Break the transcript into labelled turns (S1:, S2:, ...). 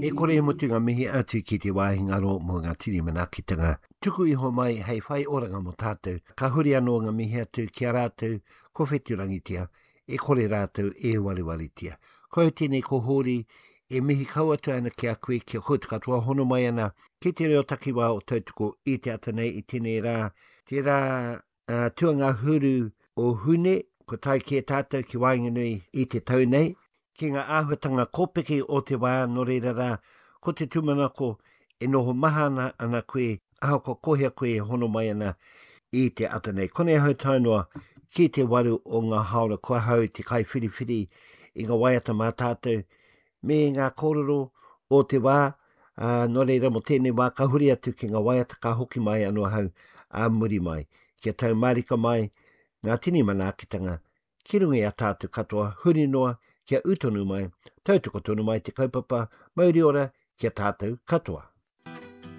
S1: E kore e mutu ngā mihi atu ki te wāhi ngaro mō ngā tini manaakitanga tuku iho mai hei whai oranga mō tātou. Ka huri anō ngā mihi atu ki a rātou ko wheturangitia, e kore rātou e warewaretia. Ko au tēnei ko Hōri e mihi kau atu ana ki a koe kia koutou katoa hono mai ana ki te reo takiwā o Tautoko i te ata nei i tēnei rā, te rā tuangahuru o Hune, kua tae kē tātou ki waenganui i te tau nei, ki ngā āhuatanga kōpeke o te wā, nō reira rā, ko te tūmanako e noho mahana ana koe, ahakoa ko hea koe e hono mai ana i te ata nei. Konei ahau tae noa ki te waru o ngā hāora ko ahau te kaiwhiriwhiri i ngā waiata mā tātou me ngā kōrero o te wā, ā, nō reira mō tēnei wā ka huri atu ki ngā waiata ka hoki mai anō ahau ā muri mai, kia tau mārika mai ngā tini manaakitanga ki runga i a tātou katoa huri noa kia ū tonu mai, tautoko tonu mai te kaupapa mauri ora ki a tātou katoa.